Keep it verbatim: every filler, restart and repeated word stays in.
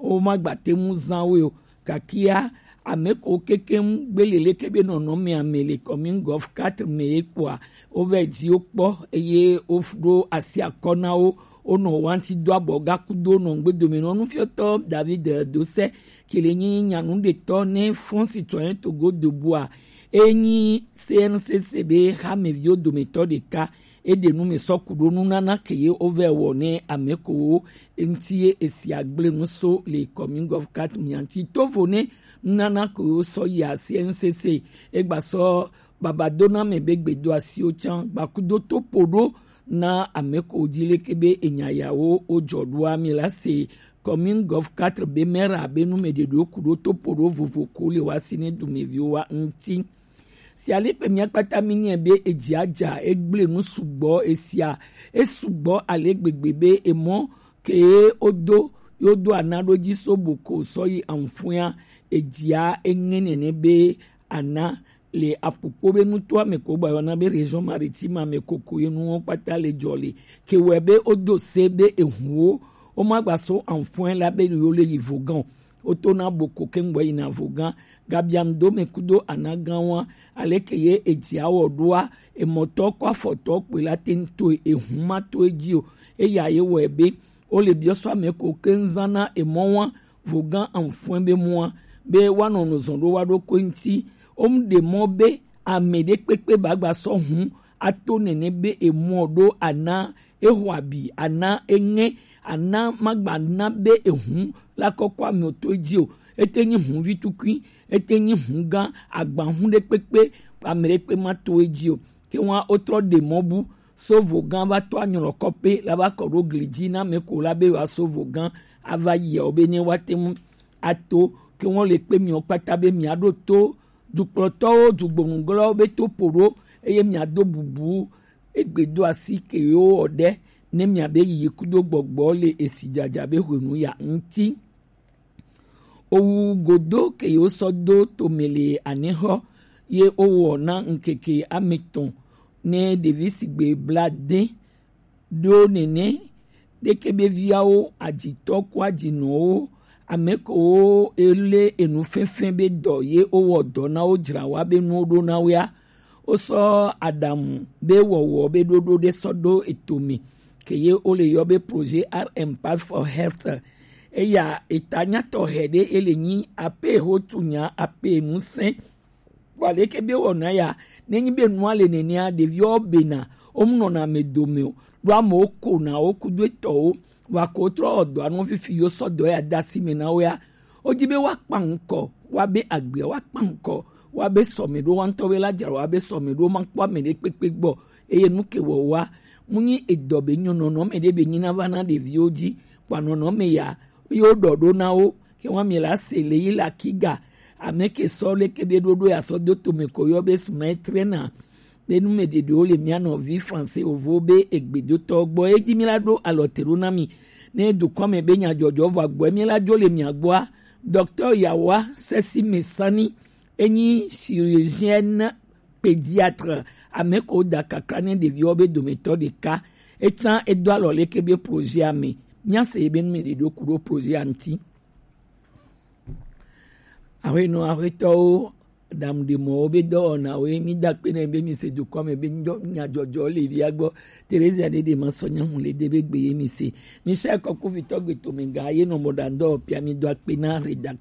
wo ma gba te ŋu zan wo o. Gakia ame ko kekeŋ gbele leke be nɔnɔme ame le commune Golf quatre me ye kpɔa, wo vɛ dzi wo kpɔ, eye wo ɖo asi akɔ na wo. Wonɔ wanti do abɔ gaku do nɔ ŋgbedomenɔ nufiɔtɔ David Dosɛ, ke le nyi nyanuɖetɔ ne Front Citoyen Togo Debout a, enyi C N C C be hameviwo dometɔ ɖeka. Eɖe nu me sɔ ku ɖo nunana ke ye wovɛ wɔ ne ame ko wo ŋuti ye esi agble nu so le commune Golf quatre mia ŋuti. Tovo ne nunana ko wo sɔ yia C N C C, egba sɔ babadona me be gbedo asiwo can gbakudo to po ɖo na ame ko dzi leke be enya yawo wo jɔ ɖoa mi la se. Commune Golf quatre be mera be nu me ɖeɖo ku ɖo to po ɖo vovo ko le wa si ne dumeviwo wa ŋuti. Si ale kpe mia kpata mi nyae be edzia dza, egble nu sugbɔ esia, esugbɔ ale gbegbe be emɔ ke ye wodo, ye wodo ana ɖo dzi so bo ko sɔ yi anfuea, edzia eŋe nene be ana le apukpo be nutoa me ko gba yɔna be région maritime me koko ye nuwo kpata le jɔ le. Ke wɛ be wodo se be ehuwo wo ma gba so anfuɛ la be yo le yi vogan o. Woto na bo ko ke ŋgbɔ yina vogan. Gabiando me kudo anagan wa, aleke ye edzia wɔ ɖoa, emɔtɔ kɔ afɔtɔ kpe la te ŋto ehu ma to edzi o. Eya ye wɔ ebe wo le biɔ sɔ ame ko ke ŋzan na emɔ wa vogan anfuɛ be mɔa, be wa nɔ nɔ zɔn ɖo wa ɖo ko ŋti. Wo mu ɖe mɔ be ame ɖe kpekpe ba gba sɔ hu ato nene be emɔ ɖo ana exɔ abi, ana eŋe, ana magba na be ehu la kɔkɔ ame to edzi o. Ete nyi hu vi tukui, ete nyi hu gã, agba hu ɖe kpekpe, ame ɖe kpe ma to edzi o. Ke wa wotrɔ ɖe mɔ bu so vogan va to anyɔlɔ kɔpe la va kɔ ɖo gli dzi na me ko la be wa so vogan ava yi o be ne wa te ŋu ato. Ke wa le kpe miɔ kpata be mia ɖo to dukplɔtɔwo, dugbonuglɔwo be to po ɖo, eye mia do bubu egbe do asi ke yewo wɔ ɖe ne mia be yiyi kudo gbɔgbɔ le esi dzadza be hwenu ya ŋti. Owu godo ke yewo sɔ do tome le anexɔ ye wowɔ na ŋkeke ametɔn ne ɖevi sigbe bla de ɖo nene ɖeke be viawo adzitɔ ko adzinɔwo, ame kowo ele enu fɛnfɛn be dɔ ye wowɔ dɔ na wo dzra wa be nuwo ɖo na woa. Wosɔ aɖaŋu be wɔwɔ be ɖoɖo ɖe sɔ ɖo eto me ke ye wole yɔ be projet R M Path for Health. Eya eta nyatɔ hɛ ɖe ele nyi ape ho tunya ape nusɛn. Bua leke be wɔna ya, nenyi be nua le nenea, ɖeviwo bena, wo mu nɔna ame dome o, ɖo amewo kona wo kudo etɔwo, wa ko trɔ wɔ dɔ anu fifi yo sɔ dɔ ya da si me na wo ya. Wodi be woakpa ŋkɔ woabe agbea, woakpa ŋkɔ woabe sɔme ɖo, woaŋutɔ be la dzra woabe sɔme ɖo, makpɔ ame ɖe kpekpe gbɔ, eye nu ke wɔ woa, mu nyi edɔ be nyɔ nɔnɔme ɖe be nyi na va na ɖeviwo dzi, kpa nɔnɔme ya, ye woɖɔ ɖo na wo, ke wa mi la se le yi la kiga, ame ke sɔ leke be ɖoɖo ya sɔ do tome ko yɔ be smai trena. Be nu me ɖeɖewo le mia nɔvi français ovo be egbedotɔ gbɔ, edzi mi la ɖo alɔ te ɖo na mi. Ne dukɔ me be nyadzɔdzɔ vɔ agbɔe mi la dzo le mia gbɔa, docteur Yawa Sesi Mesani, enyi chirurgienne pédiatre, ame ko da kakla ne ɖeviwo be dometɔ ɖeka. Etsã edo alɔ leke be projet ame. Mia se be nu me ɖeɖewo ku ɖo projet a ŋti. Aƒenɔ aƒetɔwo, ɖamuɖemɔwo be dɔwɔnawoe, mi da akpe nɛ be mi se dukɔ me be nyadzɔdzɔ le via gbɔ. Terezia ɖe ɖe ma sɔ nyahu le de be gbe ye mi se. Michel Kɔkuvitɔ gbe to me ga ye nɔ mɔ ɖa dɔ pia mi do akpe na rédaction.